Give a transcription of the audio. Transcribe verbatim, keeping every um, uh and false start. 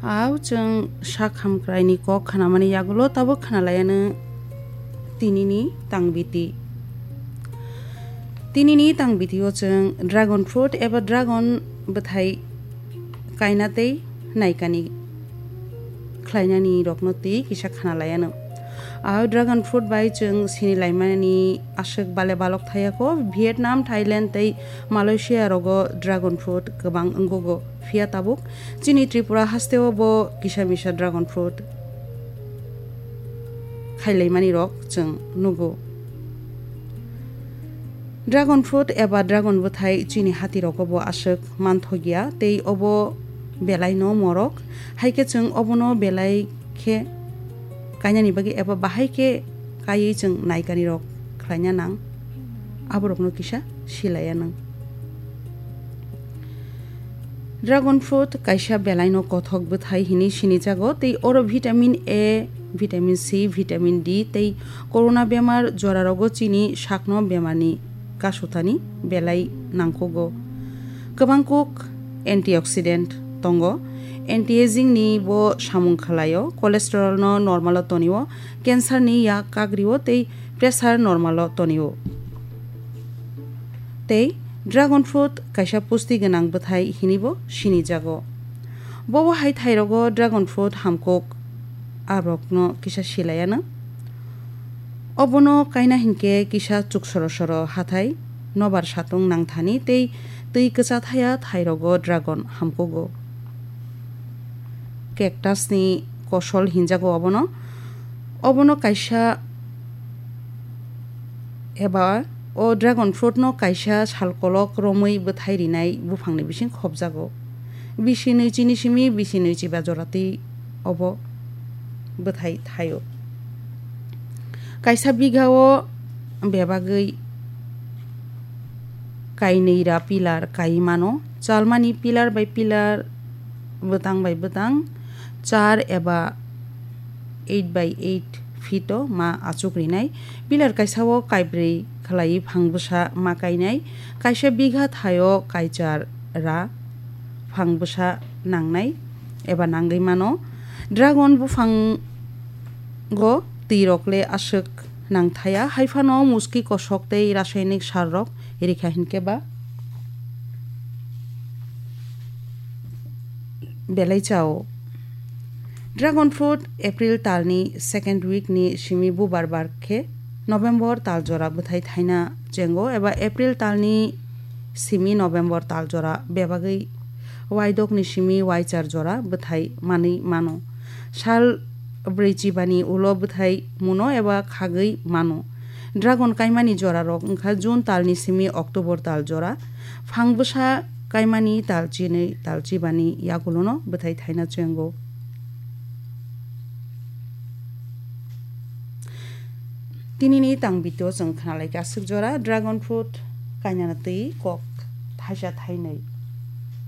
Au chwng sak hamkraini kok khnamani yagulo tabuk khnalaiano tinini tangbiti. Tinini tangbitio chwng dragon fruit eba dragon bwthai kaina tei naikani khlainani rokno twi kisa khnalaiano. Au dragon fruit bai chwng sini laimani aswk bale balok thayako. Vietnam, Thailand tei Malaysia rogo dragon fruit kwbang wngkukgo. Phiya tabuk chini Tripura hasteo bo kisa misa dragon fruit khailaimani rok chwng nugo. Dragon fruit eba dragon bwthai chini hati rogo bo aswk manthokya tei obo belai no morok. Hai khe chwng obono belai khe kainani bagwi eba bahai khe kaiwi chwng naikani rok khlaina nang. Aborokno kisa silaiya nang. Dragon fruit kaisa belaino kothok bwthai hinwi sinijago tei oro vitamin A, vitamin C, vitamin D tei corona bemar jorarogo chini sakno bemarni kasutani belai nangkukgo. Kwbang kuk antioxidant tongo, anti-aging ni bo samung khlaio, cholesterol no normal o tonio, cancer ni yak kagrio tei pressure normal o tonio. Tei dragon fruit kaisa pusti gwnang bwthai hinibo sinijago. Bobo hai thairogo dragon fruit hamkuk aborokno kisa silayano. Obono kaina hinkhe kisa chuk soro soro hathai nobar satung nangthani tei twi kwcha thaya thairogo dragon hamkugo. Cactus ni kosol hinjago obono. Obono kaisa eba o dragon fruit no kaisa salkolok romwi bwthai rinai buphangni bising khopjago. Bisi nwichi ni simi bisi nwichi ba jora twi obo bwthai thaio. Kaisa bigha o bebagwi kainwi ra pillar kai mano. Chalmani pillar bai pillar, bwtang bai bwtang char eba eight by eight feet o ma achuk rinai. Pillar kaisa o kaibrwi khlaiwi phang bwsa ma kainai. Kaisa bigha thai o kaichar ra phang bwsa nangnai eba nangwi mano. Dragon buphango twi rok le aswk nangthaya, hai phano muski kosok tei rasainik sar rok rikha hinkhe ba belai chao. Dragon fruit April talni second week ni simi bubar bar khe November tal jora bwthai thaina chengo eba April talni simi November tal jora bebagwi waidokni simi waichar jora bwthai manwi mano. Sal brwi chibani ulo bwthai muno eba khagwi mano. Dragon kaimani jorarok wngkha June talni simi October tal jora. Phang bwsa kaimani tal chinwi tal chibani yagulono bwthai thaina chengo. Tinini tang bitio chwng khnalaikha aswk jora dragon fruit kainana twi kok thaisa thainwi.